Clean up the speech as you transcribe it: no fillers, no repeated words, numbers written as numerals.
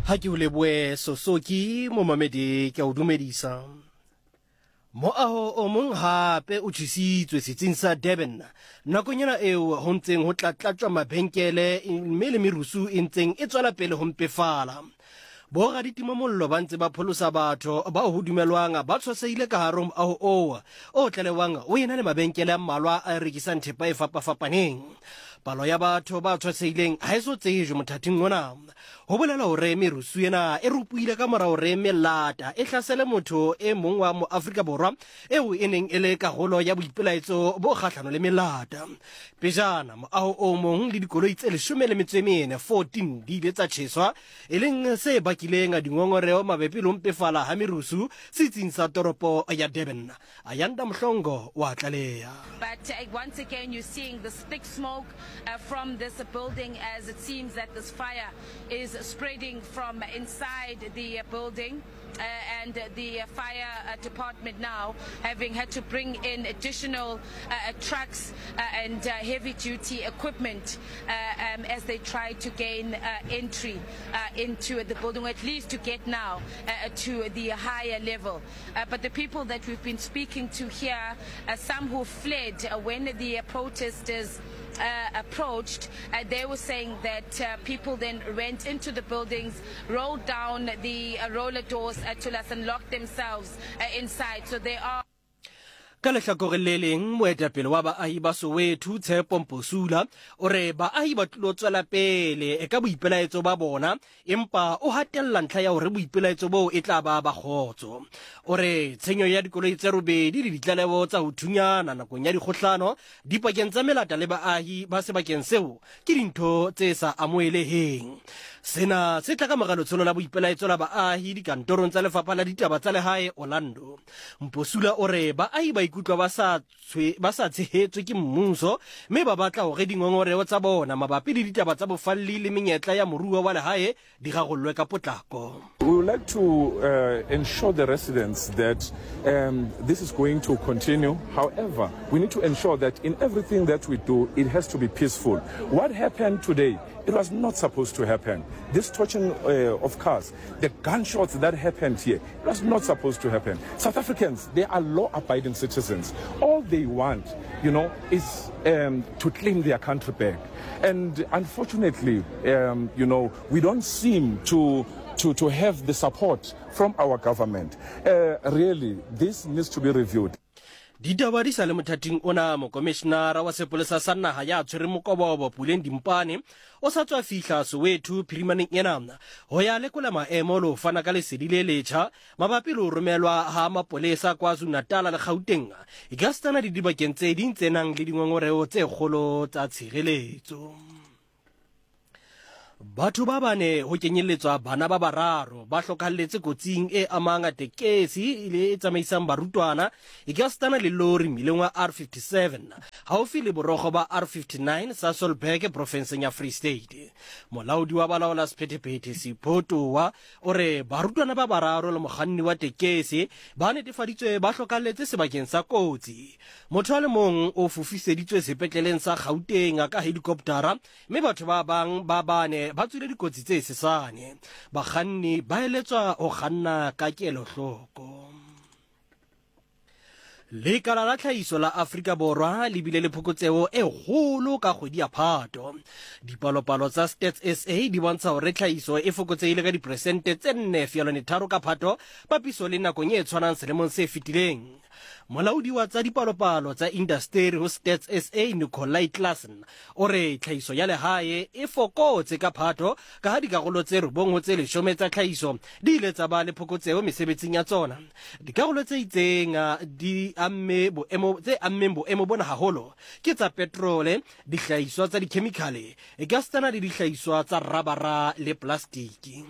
Ha ke o leboe Sosoki momamedi ke a o dumedisa. Moaho o mong hape o tjhesitswe setsing sa Durban nakong ena eo ho ntseng ho tlatlatjwa mabenkele mme le merusu e ntseng e tswela pele ho mpefala. Boraditimamollo ba ntse ba pholosa batho bao ho dumelwang ba tshwasehile ka hare ho moaho oo o tlalewang o ena le mabenkele a mmalwa a rekisang thepa e fapafapaneng. Palo ya batho ba tshwasehileng ha e so tsejwe mothating ona. Ho bolela hore merusu ena e ropohile ka mora hore melata e hlasele motho e mong wa Moafrika Borwa eo e neng e le karolo ya boipelaetso bo kgahlano le melata. Pejana, moaho o mong le dikoloi tse 14, 14, di ile tsa tjheswa, e leng se bakileng dingongoreo mabapi le ho mpefala ha merusu setsing sa toropo ya Durban. Ayanda Mhlongo wa tlaleha. But uh, once again, you're seeing this thick smoke uh, from this building as it seems that this fire is spreading from inside the building. Uh, and the fire uh, department now having had to bring in additional uh, trucks and heavy duty equipment um, as they try to gain entry into the building, or at least to get now to the higher level. Uh, but the people that we've been speaking to here, uh, some who fled uh, when the protesters uh, approached, uh, they were saying that uh, people then went into the buildings, rolled down the roller doors to us and locked themselves inside. So they are. Ka lehlakoreng le leng, moetapele wa baahi ba Soweto, Tshepo Mposula, o re baahi ba tlilo tswela pele ka boipelaetso ba bona empa o hatella ntlha ya hore boipelaetso boo e tla ba ba kgotso. O re tshenyo ya dikoloi tse robedi le ditlaleho tsa ho thunyana nakong ya dikgohlano dipakeng tsa melata le baahi ba sebakeng seo ke dintho tse sa amoheleheng. Sena se tla ka mora letsholo la boipelaetso la baahi dikantorong tsa Lefapha la Ditaba tsa Lehae Orlando. Mposula o re baahi ba ikutlwa ba sa ba sa tshehetswe ke mmuso mme ba batla hore dingongoreo tsa bona mabapi le ditaba tsa bofalli le menyetla ya moruo wa lehae di rarollwe ka potlako. We would like to uh, ensure the residents that um, this is going to continue. However, we need to ensure that in everything that we do, it has to be peaceful. What happened today, it was not supposed to happen. This torching uh, of cars, the gunshots that happened here, it was not supposed to happen. South Africans, they are law-abiding citizens. All they want, you know, is um, to claim their country back. And unfortunately, um, you know, we don't seem to to, to have the support from our government. Uh, really, this needs to be reviewed. Ditaba di sa le mothating ona, mokomishinara wa sepolesa sa naha ya tshwereng mokobobo Puleng Dimpane o sa tswa fihla Soweto phirimaneng ena ho ya lekola maemo le ho fana ka lesedi le letjha mabapi le ho romelwa ha mapolesa KwaZulu-Natal le Gauteng ekasitana le dibakeng tse ding tse nang le dingongoreo tse kgolo tsa tshireletso. Batho ba bane ho kenyelletswa bana ba bararo ba hlokahalletse kotsing e amang tekesi le e tsamaisang barutwana ekasitana le lori mmileng wa R57 haufi le borogo ba R59 Sasolburg profenseng ya Free State. Molaodi wa balaola sephethephethe Sipho Towa o re barutwana ba bararo le mokganni wa tekesi ba netefaditswe ba hlokahalletse sebakeng sa kotsi. Motho a le mong o fofiseditswe sepetleleng sa Gauteng ka helikoptara Mme batho ba bang ba bane ba tswile dikotsi tse sesane. Bakganni ba eletswa ho kganna ka kelohloko. Lekala la tlhahiso la Afrika Borwa le bile le phokotseho e kgolo ka kgwedi ya Phato. Dipalopalo tsa Stats SA di bontsha hore tlhahiso e fokotsehile ka diperesente tse 4.3 ka Phato papiso le nakong e tshwanang selemong se fetileng. Molaodi wa tsa dipalopalo tsa indasteri ho Stats SA Nicolai Claassen o re tlhahiso ya lehae e fokotse ka phato ka ha dikarolo tse robong ho tse leshome tsa tlhahiso di ile tsa ba le phokotseho mesebetsing ya tsona. Dikarolo tse itseng di amme boemo tse ammeng boemo bona haholo ke tsa petrole, dihlahiswa tsa dikhemikhale, ekasitana le dihlahiswa tsa rabara le plastiki.